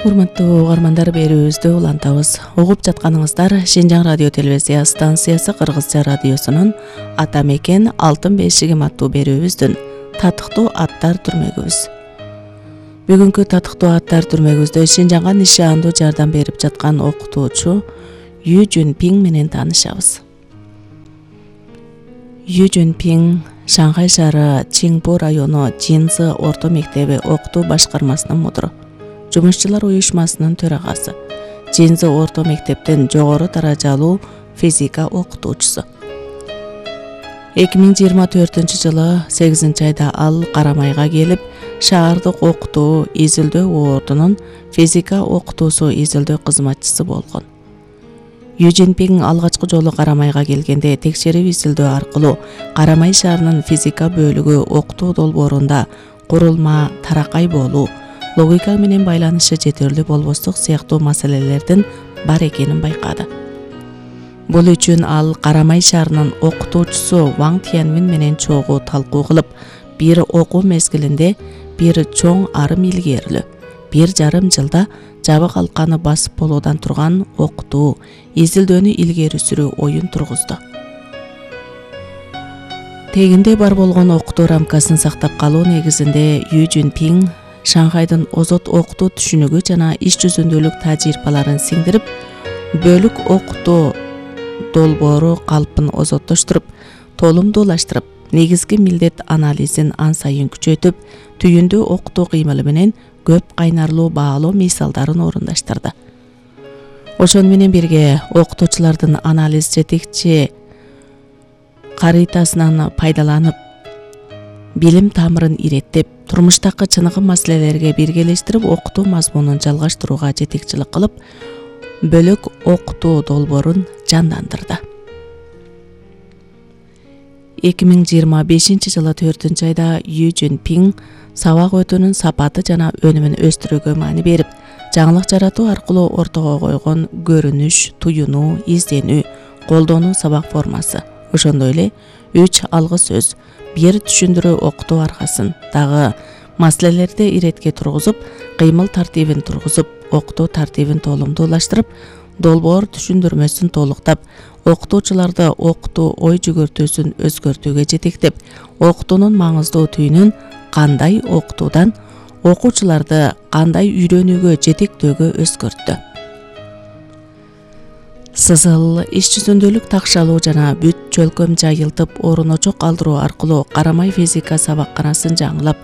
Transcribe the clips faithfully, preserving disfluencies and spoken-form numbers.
Урматтуу угармандар, берүүбүздү улантабыз. Угуп жатканыңыздар Шинжаң радио телевизия станциясы Кыргызча радиосунун Ата мекен алтын бешигим аттуу берүүбүздүн татыктуу аттар түрмөгүбүз. Бүгүнкү татыктуу аттар түрмөгүбүздө Шинжаңга нишандуу жардам берип жаткан окутуучу Ю Жунпиң менен таанышабыз. Ю Жунпиң Шанхай шаары Чинпу району Жинзы орто мектеби окутуу башкармасынын мудуру, Жумушчулар уюшмасынын төрагасы, Жинзы орто мектептин жогору даражалуу физика окутуучусу. эки миң жыйырма төртүнчү жылы сегизинчи айда ал Карамайга келип, шаардык окутуу изилдөө ордунун физика окутуусу изилдөө кызматчысы болгон. Ю Жунпиң алгачкы жолу Карамайга келгенде текшерип изилдөө аркылуу Карамай шаарынын физика бөлүгү окутуу долбоорунда курулма, таракай болуу, логика менен байланышы жетерлүү болбостук сыяктуу маселелердин бар экенин байкады. Бул үчүн ал Карамай шаарынын окутуучусу Ваң Тянмин менен чогуу талкуу кылып, бир окуу мезгилинде бир чоң арым илгерилүү, бир жарым жылда жабык алканы басып болуудан турган окутуу, изилдөөнү илгери сүрүү оюн тургузду. Тегинде бар болгон окутуу рамкасын сактап калуу негизинде Ю Жунпиң Шанхайдын озот окутуу түшүнүгү жана иш жүзүндөлүк тажрыйбаларын сиңдирип, бөлүк окутуу долбоору калпын озоттоштуруп, толумдуулаштырып, негизги милдет анализин ан сайын күчөтүп, түйүндүү окутуу кыймылы менен көп кайнарлуу баалоо мисалдарын орундаштырды. Ошону менен бирге окутуучулардын анализ жетекчи карытасынан пайдаланып, билим тамырын иреттеп, турмуштагы чыныгы маселелерге биргелештирип, окутуу мазмунун жалгаштырууга жетекчилик кылып, бөлөк окутуу долбоорун жандандырды. эки миң жыйырма бешинчи жылы төртүнчү айда Ю Жунпиң сабак өтүүнүн сапаты жана өнүмүн өстүрүүгө маани берип, жаңылык жаратуу аркылуу ортого койгон көрүнүш, туюнуу, изденүү, колдонуу сабак формасы, ошондой эле үч алгы сөз, бир түшүндүрүү окутуу аркасын дагы маселелерди иретке тургузуп, кыймыл тартибин тургузуп, окутуу тартибин толумдуулаштырып, долбоор түшүндүрмөсүн толуктап, окутуучуларды окутуу ой жүгүртүүсүн өзгөртүүгө жетектеп, окутуунун маңыздуу түйүнүн кандай окутуудан окуучуларды кандай үйрөнүүгө жетектөөгө өзгөрттү. Сызыл, иш жүзүндөлүк такшалуу жана бүт чөлкөм жайылтып, орун очок калтыруу аркылуу Карамай физика сабакканасын жаңылап,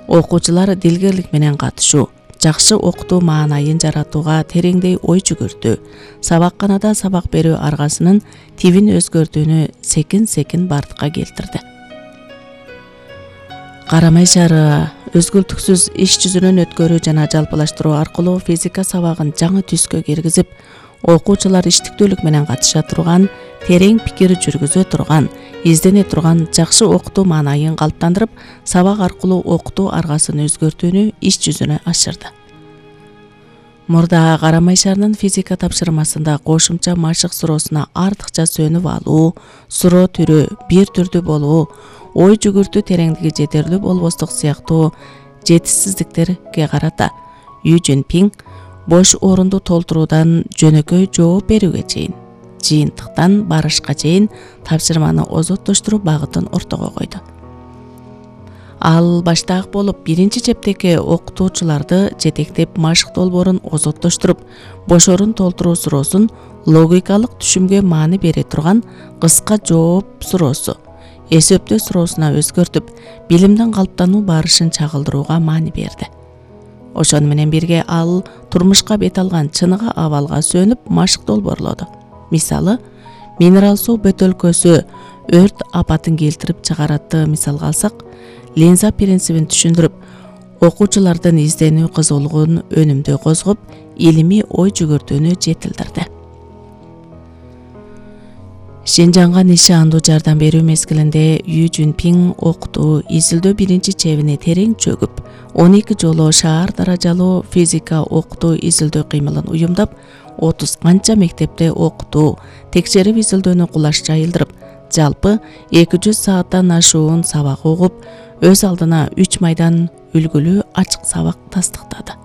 окуучулар дилгерлик менен катышуу, жакшы окутуу маанайын жаратууга тереңдей ой жүгүртүү, сабакканада сабак берүү аргасынын тибин өзгөртүүнү секин-секин бардыкка келтирди. Карамай шаары өзгүлтүксүз иш жүзүнөн өткөрүү жана жалпылаштыруу аркылуу физика сабагын жаңы түскө киргизип, окуучулар иштиктүүлүк менен катыша турган, терең пикир жүргүзө турган, издене турган жакшы окутуу маанайын калыптандырып, сабак аркылуу окутуу аргасын өзгөртүүнү иш жүзүнө ашырды. Мурда Карамай шаарынын физика тапшырмасында кошумча машык суроосуна артыкча сөнүп алуу, суроо түрү бир түрдүү болуу, ой жүгүртүү тереңдиги жетерлүү болбостук сыяктуу жетишсиздиктерге карата Ю Жунпиң бош орунду толтуруудан жөнөкөй жооп берүүгө чейин, жыйынтыктан барышка чейин тапшырманы озоттоштуруу багытын ортого койду. Ал баштаак болуп биринчи чептеги окутуучуларды жетектеп, машык долбоорун озоттоштуруп, бош орун толтуруу суроосун логикалык түшүмгө маани бере турган кыска жооп суроосу, эсептөө суроосуна өзгөртүп, билимдин калыптануу барышын чагылдырууга маани берди. Ошону менен бирге ал турмушка бет алган чыныгы абалга сөнүп, машык долбоорлоду. Мисалы, минерал суу бөтөлкөсү өрт апатын келтирип чыгаратты мисалга алсак, линза принцибин түшүндүрүп, окуучулардын изденүү кызуулугун өнүмдүү козгоп, илимий ой жүгүртүүнү жетилдирди. Шинжаңга нишандуу жардам берүү мезгилинде Ю Жунпиң окутуу, изилдөө биринчи чебине терең чөгүп, он эки жолу шаар даражалуу физика окутуу изилдөө кыймылын уюмдап, отуз канча мектепте окутуу, текшерип изилдөөнү кулаш жайылдырып, жалпы эки жүз сааттан ашуун сабак угуп, өз алдына үч майдан үлгүлүү ачык сабак тастыктады.